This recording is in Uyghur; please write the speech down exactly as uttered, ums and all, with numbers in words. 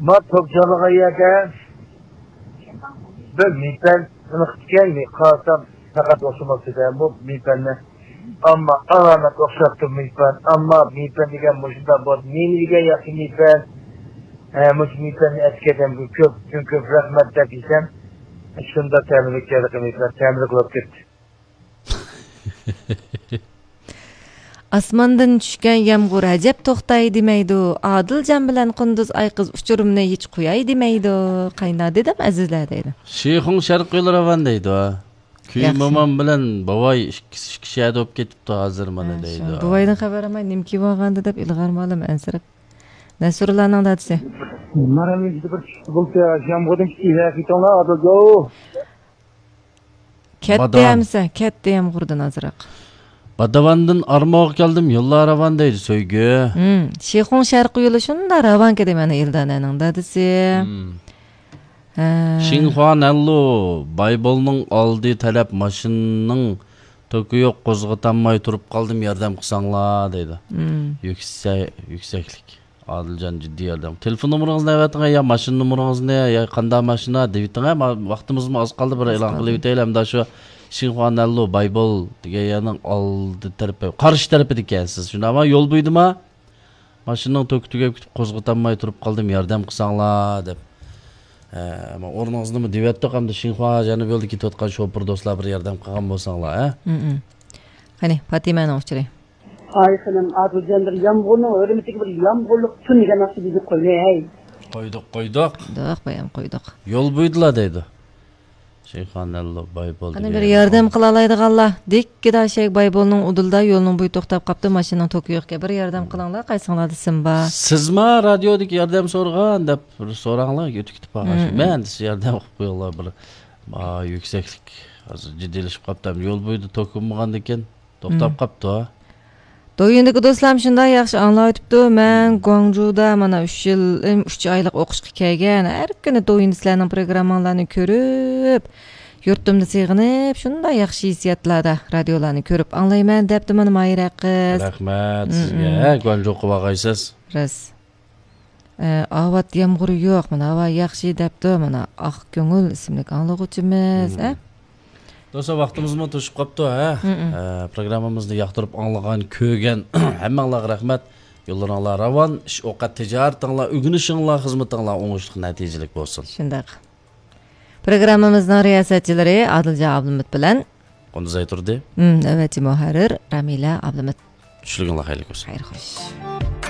ما توك چالغان يەردە بىر مېيپەن ئېنىق ئىكەن، مەن قارىسام پەقەت ئوخشىماپتۇ بۇ مېيپەننى. ئەمما ئالامەت ئوخشاپتۇ مېيپەن. ئەمما مېيپەن دېگەن مۇشۇنداق بولدى. نېمە دېگەن ياخشى مېيپەن؟ ھە، مۇشۇ مېيپەننى ئەتىكەن، بۇ كۆپ، چوڭ كۆپ رەھمەت دەپ يېسەم، شۇنداق تەملىك يەردىكى مېيپەن، تەملىك بولۇپ كەتتى. ئاسماندىن چۈشكەن يامغۇر ئەجەب توختاي دېمەيدۇ، ئادىلجان بىلەن قۇندۇز ئايقىز ئۇچۇرۇمنى ھېچ قوياي دېمەيدۇ. قاينا دېدىم ئەزىزلەر دەيدۇ. شىخۇڭ شەرقىي يول راۋان دەيدۇ. كۈي مومام بىلەن بوۋاي ئىككىسى ئىككى شەھەردە بولۇپ كېتىپتۇ ھازىر مانا دەيدۇ. بوۋايدىن خەۋەر ئالماي نېمە كىيىۋالغاندۇ دەپ ئىلغارمۇ ئالىمەن ئەنسىرەپ. نەسرۇللانىڭ دادىسى. مانا مېنىڭ بىر چىقىپ بولدى يامغۇردىن كېيىن كېلىۋېتىڭلار ئادىلجان. كەتتى ئەمىسە، كەتتى يامغۇردىن ئازراق. باداۋاندىن ئارماغا كەلدىم يوللار راۋان دەيدۇ سۆيگۈ. شىخۇڭ شەرقىي يولى شۇنداق راۋانكى دەيمەن ئىلدانەنىڭ دادىسى. شىڭخۇا نەنلۇ بايبولنىڭ ئالدى تەرەپ ماشىنىنىڭ توكى يوق، قوزغىتالماي تۇرۇپ قالدىم ياردەم قىلساڭلار دەيدۇ. يۈكسەكلىك. ئادىلجان جىددىي ياردەم. تېلېفون نومۇرىڭىزنى ئەۋەتىڭە يا ماشىنا نومۇرىڭىزنى يا قانداق ماشىنا دېۋېتىڭە. ۋاقتىمىزمۇ ئاز قالدى، بىر ئېلان قىلىۋېتەيلى ئەمدى شۇ شىنخۇا نەنلۇ بايبول دېگەن يەرنىڭ ئالدى تەرىپى، قارشى تەرىپىدىكەنسىز شۇنداقمۇ؟ يول بويىدىما؟ ماشىنىنىڭ توكى تۈگەپ كېتىپ قوزغىتالماي تۇرۇپ قالدىم ياردەم قىلساڭلار دەپ. ئورنىڭىزنىمۇ دېۋەتتۇق ئەمدى شىنخۇا جەنۇبىي يولدا كېتىۋاتقان شوپۇر دوستلار بىر ياردەم قىلغان بولساڭلار ھە. قېنى پاتىمەنىڭ ئۇچۇرى. ئاي خېنىم، ئادىلجان بىر يامغۇرنىڭ ھۆرمىتىگە بىر يامغۇرلۇق تۈن دېگەن ناخشا بىزنى قويماي ھەي. قويدۇق قويدۇق. قويدۇق بايام قويدۇق. يول بويىدىلا دەيدۇ. شىنخۇا نەنلۇ بايبول. قېنى بىر ياردەم قىلالايدىغانلار. دىككىدا شەيك بايبولنىڭ ئۇدۇلدا يولنىڭ بويى توختاپ قاپتۇ، ماشىنىنىڭ توكى يوقكەن. بىر ياردەم قىلىڭلار، قايسىڭلاردا سىم بار. سىزما رادىيودىكى ياردەم سورىغان دەپ بىر سوراڭلار، ئۆتۈپ كېتىپ قالغان. مەن دېسە ياردەم قىلىپ قويۇڭلار بىر. يۈكسەكلىك ھازىر جىددىيلىشىپ قاپتۇ. يول بويىدا توك بولمىغاندىكىن توختاپ قاپتۇ. دويىندىكى دوستلارمۇ شۇنداق ياخشى ئاڭلاۋېتىپتۇ. مەن گۇاڭجۇدا مانا ئۈچ يىل، ئۈچ ئايلىق ئوقۇشقا كەلگەن. ھەر كۈنى دويىندا سىلەرنىڭ پروگرامماڭلارنى كۆرۈپ، يۇرتۇمدا سېغىنىپ، شۇنداق ياخشى ھېسسىياتلاردا رادىيولارنى كۆرۈپ ئاڭلايمەن، دەپتۇ مانا ماھىرە قىز. رەھمەت سىزگە. ھە، گۇاڭجۇغا بارغايسىز. راست. ئە، ئاۋات يامغۇر يوق، مانا ھاۋا ياخشى دەپتۇ، مانا ئاق كۆڭۈل ئىسىملىك ئاڭلىغۇچىمىز، ئە؟ دوستلار، ۋاقتىمىزمۇ توشۇپ قاپتۇ، ھە؟ ئە، پروگراممىمىزنى ياقتۇرۇپ ئاڭلىغان، كۆرگەن ھەممەڭلارغا رەھمەت. يوللىرىڭلار راۋان، ئىش ئوقەت تىجارىتىڭلار، ئۆگىنىشىڭلار، خىزمىتىڭلار ئوڭۇشلۇق، نەتىجىلىك بولسۇن. شۇنداق. پروگراممىمىزنىڭ رىياسەتچىلىرى ئادىلجان ئابلىمىت بىلەن قۇندۇزئاي تۇردى. ئەۋەتچى مۇھەررىر رامىلە ئابلىمىت. چۈشلۈكۈڭلار خەيرلىك بولسۇن. خەير خوش.